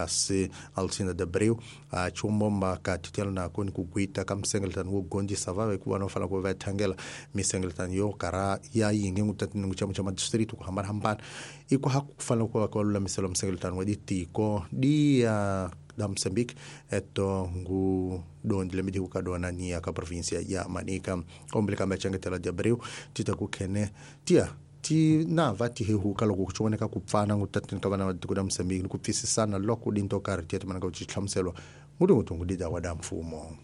kasi Alcinda de Abreu a chumbomba ka titela na koni kugwita ka msengeletano wo gondisa vave ku vana fanele ku va thangela misengeletano yo kara ya yinge ngutatini nguchamo cha madistrito ku hambana hambana iko hakufanele ku va ka lulamiselo msengeletano wa ditiko dia da Moçambique eto ngu dondi lemidi kukadona ni ya ka província ya Manica ombele kambe changetela de Abreu tita kukhene tia ti na va ti hehuka loko ku voneka ku pfana ngutatini ka vana va tiko ra Moçambique ni ku pfisisana loko dinto karhi tiya timana ka ku hlamuselwa ngutungutungu didawa da mfumo.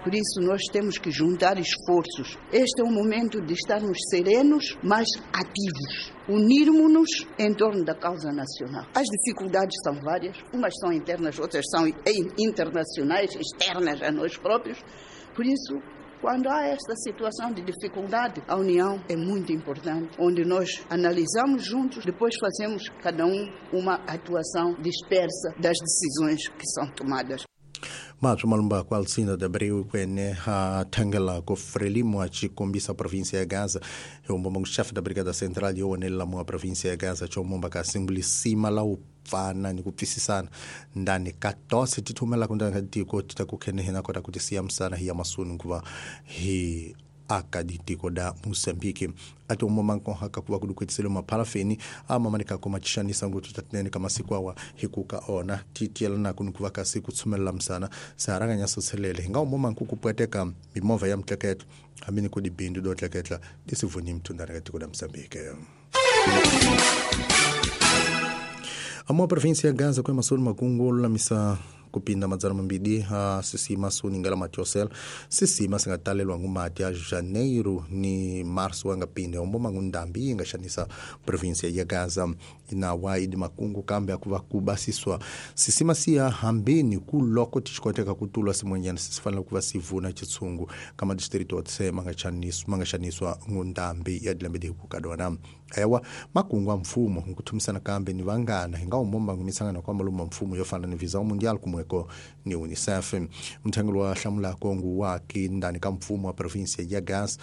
Por isso nós temos que juntar esforços. Este é o momento de estarmos serenos, mas ativos. Unirmos-nos em torno da causa nacional. As dificuldades são várias, umas são internas, outras são internacionais, externas a nós próprios. Por isso, quando há esta situação de dificuldade, a união é muito importante, onde nós analisamos juntos, depois fazemos cada um uma atuação dispersa das decisões que são tomadas. Mato malumba kwa Alcinda de Abreu kwene ha thangela ko Frelimo a chikombisa província ya Gaza yombomba chefe da Brigada Central yowonela mu província ya Gaza chombomba ka simbulisima la upfana ni kupfisisana ndani ka tose tithumela ku ndani ka tiko tita ku khene hina kota kuti siyamsana hi ya masuni kuva hi aka ditiko da Moçambique ati umoma nkohaka kuva kudukwetselo maphalafeni amamanika ko machishanisa ngutu tatinene ka masiku awa hikuka ona titiela na kunukuva kasi kutsumelela msana saranganya soselele hinga umoma nkukupweteka mimovha ya mtleketlo hamini kudibindu do tleketla disivuni mtundana ka tiko da Moçambique. Amo província ya Gaza kwa masoni makungu lulamisa kupinda madzana mambidi ha sisima suningela matiosel sisima singatalelwa ngumati ya Janeiro ni Março angapinde omboma ngundambi ingashanisa província ya Gaza inawa idi makungu kambe akuva kubasiswa sisima siya hambini kuloko tichikoteka kutulwa simwenyana sisifanele kuva sivuna chitsungu kama distrito otse mangashaniswa ngundambi ya dilambedi kukadona ewa makungu a mfumo nkuthumisana kambe ni vangana hinga umomba ngumisangana kwa maluma mfumo yofana ni visa mundial kumweko ni UNICEF mthengelo wa hlamula kongu waki ndani ka mfumo wa província ya Gaza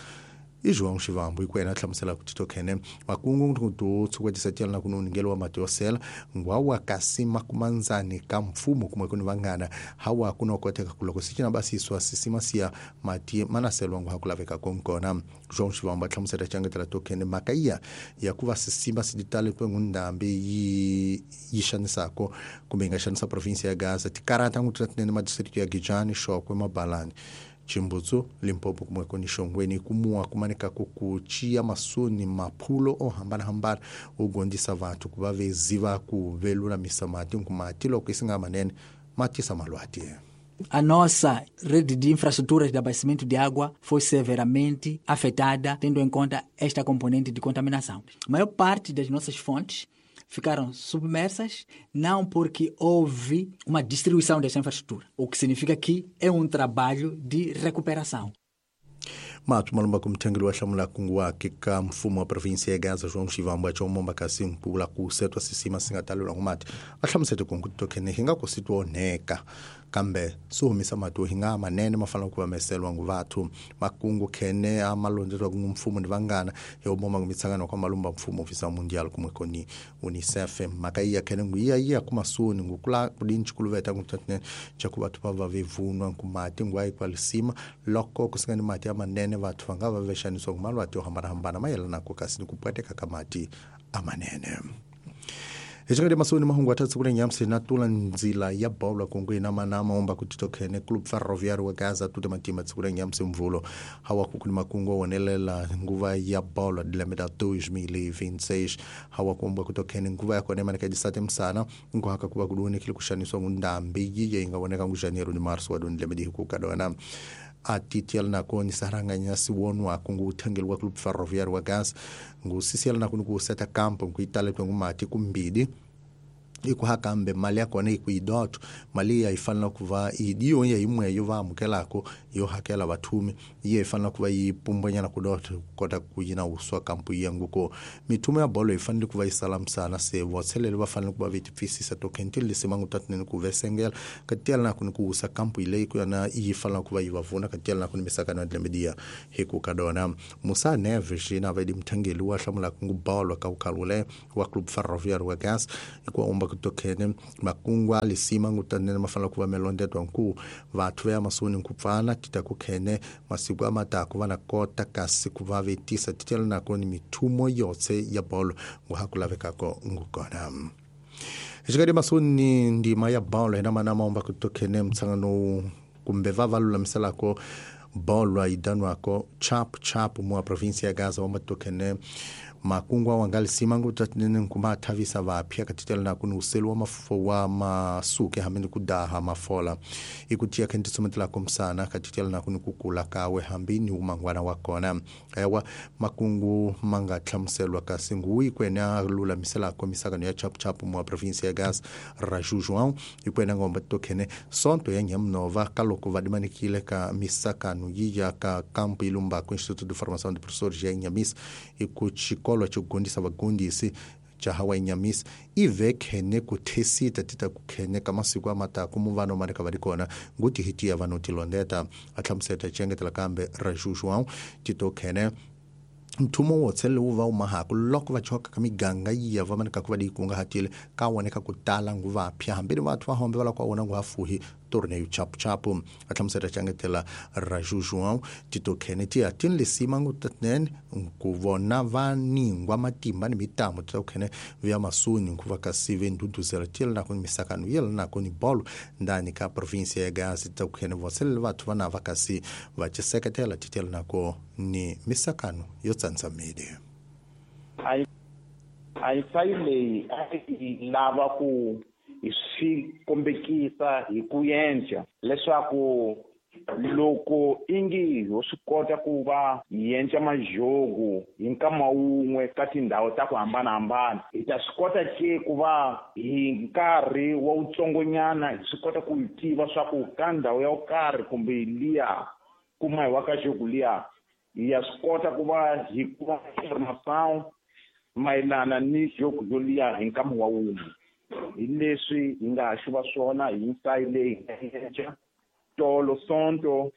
i João Chivambo ikwena hlamusela ku titokhene makungu nkutu tsukwetisa na kunungelo wa matiosela ngwawa kasi makumanzani ka mfumo kumwe kuni vangana hawa kunokoteka kuloko sichina basiswa sisima siya mati manaselwa ngwa hakulaveka konkona João Chivambo hlamusela changetela tokhene makaiya ya kuva sisima siditale kwengundambi yi yishanisako kumbe ingashanisa província ya Gaza tikarata ngutratnene madistrito ya Gijani Shokwe Mabalani Chimbutsu Limpopo kumweko ni Shongweni kumua kumanika kukuchia masuni maphulo ohambana hambana ugondisa vantu kuva veziva kuvelulamisa mati nkumati loko isinga manene matisa malwati. A nossa rede de infraestruturas de abastecimento de água foi severamente afetada, tendo em conta esta componente de contaminação. A maior parte das nossas fontes ficaram submersas, não porque houve uma destruição desta infraestrutura, o que significa que é um trabalho de recuperação. Mato malumba kumthengeli wa hlamula kungu wake ka mfumo wa província ya Gaza João Chivambo achomomba kasi mpula ku setwa sisima singatalelwa ngumati a hlamusete kungu tokhene hinga ku sitwa onheka kambe swi humisa mati hinga manene ma fanele ku vameselwa ngu vathu makungu khene a malondzeriwa ku mfumo ni vangana hi omoma ngumitsangano kwa malumba mfumo visa mundial kumwe koni UNICEF mhaka iya khene ngu iya iya kumasuni ngu kula kudinchi kuluveta nguthatne cha ku vathu va va vevunwa nkumati ngu ayi kwalisima loko kusingani mati ya manene vathu va nga va vexaniswa ngumalwati yo hambanahambana mayelanako kasi ni ku pweteka ka mati amanene. Hechakati masoni mahungu atatsi kule nyamsi na tula nzila ya bola kungu ina manama omba kutitokhene Clube Ferroviário wa Gaza tute matima tsikule nyamsi mvulo hawa kukuni makungu wonelela nguva ya bola dilemeta 2026 hawa kumbwa kutokhene nguva ya kone maneka disate msana nguhaka kuba kudune kile kushaniswa ngundambi yiye ingawoneka ngu Janeiro ni Marso wa dilemeta hikukadona atitiel nako ni saranganya siwonwa kungu uthengeli wa Clube Ferroviário wa Gaza ngusisiela nako ni kuseta campo nkuitale kwengumati kumbidi ikuhakambe mali yakona ikuidoto mali yayifanela kuva idiyo yimwe yo va amukelako yo hakela vathumi iye ifanela kuva yipumbwenyana kudoto kota kuyina uswa kampu yanguko mithumo ya bolo ifanele kuva isalamsana se votshelele va fanele kuva vetipfisisa tokhentili lisimangu tatinene ku vesengela katiyela nako ni kuusa kampu ileyi kuyona iyifanela kuva yivavuna katiyela nako ni misakano ya dilemediya hikukadona Musa Neves yina vedi mthengeli wa hlamulaka ngubolo ka ukhalule wa Clube Ferroviário wa Gaza ikuwa umba kutokhene makungwa lisima ngutanene mafana kuva melondetwa nku vathu ya masuni nkupfana tita kukhene masiku amataku vana kota kasi kuva vetisa titela nako ni mithumo yotse ya bolo nguhakulavekako ngukona. Xikati masuni ndima ya bolo hina mana maomba kutokhene mtsangano kumbe va valulamiselako bolo idanwako chap chap mua província ya Gaza omatokhene makungwa wangalisima ngutatnene nkuma thavisa vapya katitela na kuni uselu wa mafo wa masuke hambi kudaha mafola ikutia khentisomethela komsana katitela na kuni kukula kawe hambi ni umangwana wa kona ewa makungu manga hlamuselwa kasi nguyi kwena lulamisela komisakano ya chap chap mua província ya Gaza Raju João ikwena ngomba tokhene sonto ya nyamnova kaloko vadimanikile ka misakano yiya ka kampo ilumbako Instituto de Formação de Professores ya Inhamis ikuchi xikolo xo gundisa vagundisi xa hawa Inhamis ive khene ku thesita tita ku khene ka masiku a mataku muvano maneka va ri kona nguti hi tiya vanhu tilondeta a hlamuseta cengetela kambe Raju João tito khene nthumo wotse lowu va wumahaku loko va choka ka miganga yiya va maneka ku va dikungahatile ka woneka ku tala nguva phya hambi ni vathu va hombe va la ku wona nguva fuhi torneio chapu chapu a hlamusela cengetela Raju João tito khene tiya tini lisima ngutatnene ku vona va ningwa matimba ni mitamo tito khene vya masuni nkuva kasi ve nduduzela tiyela nako ni misakano yela nako ni bolo ndani ka província ya Gaza tito khene vosele vathu va na va kasi va ciseketela titela nako ni misakano yo tsantsamile. A ensaio leyi a yi lava ku hi swi kombekisa hi ku endla leswaku loko ingi ho swi kota ku va hi endla majogo hi nkama wun'we ka tindhawu ta ku hambanahambana hi ta swi kota ke ku va hi nkarhi wa wutsongonyana hi swi kota ku tiva swa ku ka ndhawu ya ku karhi kumbe liya kuma hi wa ka jogo liya hi ya swi kota ku va hi kuma information mayelana ni jogo yoliya hi nkama wa wun'we. Hi leswi hi nga ha xuva swona hi nsayi leyi hi nga endla tolo sonto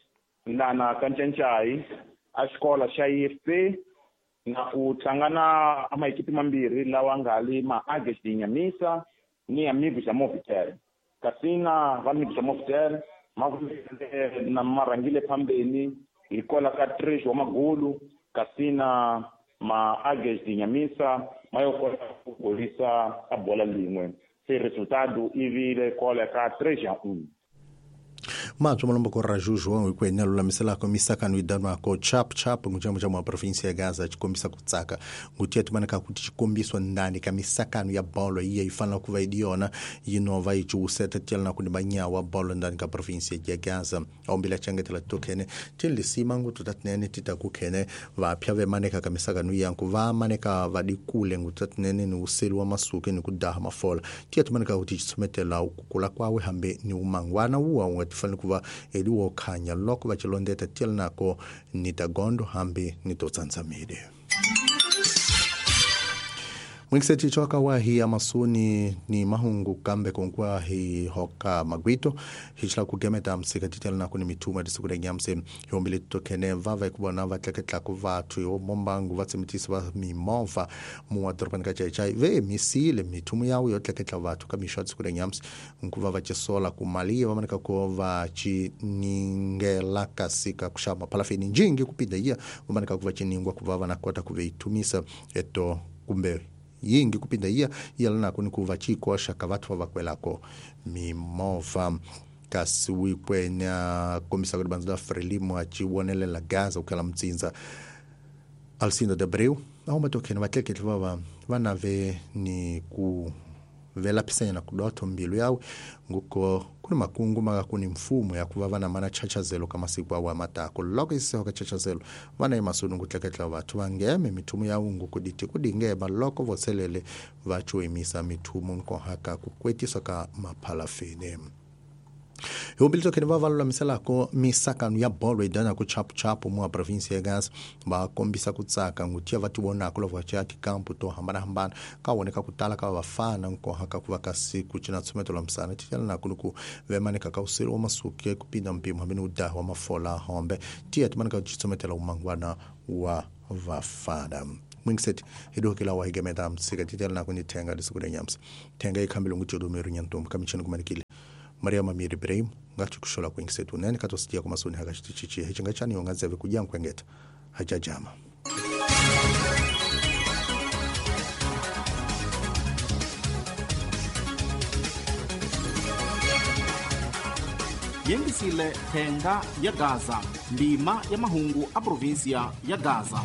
lana ka Ncancai a xikola xa IFP na ku tlanga na amaekipi mambirhi lawa nga li ma Ages de Inhamisa ni Amigos da Movitel. Kasi na va Amigos da Movitel ma na marhangile phambeni hi kola ka 3 wa magulu kasi na ma Ages de Inhamisa ma yo kota ku golisa a bola lin'we se resultado i vile kola ka 3-1. Matsho malombo ko Raju João ikwenya lulamiselako misakano idanwako chap chap nguchambo cha província ya Gaza chikombisa kutsaka ngutia timaneka kuti chikombiswa ndani ka misakano ya bolo iya ifana kuva idiona yinova ichiuseta tiela na kuni banyawa bolo ndani ka província ya Gaza ombila changetela tokene tilisima ngutu tatinene titakukhene vapya vemaneka ka misakano yanku vamaneka vadikule ngutatinene ni uselu wa masuke ni kudaha mafola tiya timaneka kuti chitsometela ukukula kwawe hambe ni umangwana uwa ungatifana kuva eliwo khanya loko va chilondeta tiela nako ni tagondo hambi ni totsantsamile. Mwinkiseti choka wa hi amasuni ni mahungu kambe konkwa hi hoka magwito hichla kugemeta msika titela nako ni mituma disukure nyamse yombile tokene vava ikubona vatleketla ku vathu yo mombangu vatsemitisa va mimova muwa dorobani ka chaichai ve misile mithumu yawo yo tleketla vathu ka mixo disukure nyamse nkuva va chisola ku mali va maneka ko va chiningela kasika kuxama palafini njingi kupinda iya va maneka ku va chiningwa ku va va na kota ku veitumisa eto kumbe yingi kupinda iya yala nako ni kuva chikoxa ka vathu va vakwelako mimova kasi wikwenya kombisa ku banza Frelimo a chiwonelela Gaza ukela mtsinza Alcindo de Abreu auma tokhene vatleketli va va nave ni ku velapisanya kudotho mbilu yawe nguko kuni makungu maka kuni mfumo ya kuva vana mana chachazelo ka masiku awa matako loko iseho ka chachazelo vana emasuni ngutleketla vathu vangeme mithumo ya ungu kuditi kudingema loko voselele vachuimisa mithumo nkohaka kukwetiswa ka maphalafini. Yombili tokhene va valulamiselako misakano ya bolo idana ku chapu chapu mua província ya Gaza va kombisa ku tsaka ngutia va tivonako loko va chaya tikampu to hambanahambana ka woneka ku tala ka vafana nkohaka ku va kasi ku cina tshumeto la misana titela nako ni ku vemaneka ka useli wa masuke ku pinda mpimo hambi ni udaha wa mafola hombe tiya timaneka ku tsumetela umangwana wa vafana. Mwingiseti hidohokela wa higemeta msika titela na kuni thenga lisiku nyamsa thenga ikhambile ngujodo nyantombi kamicheni kumanikile Maria Mamiri Ibrahim ngathi kushola kwingisetu nene katositia kumasoni hakachitichichi hichinga yongazeve kujankwengeta hajajama. Yengisile thenga ya Gaza, ndima ya mahungu a província ya Gaza.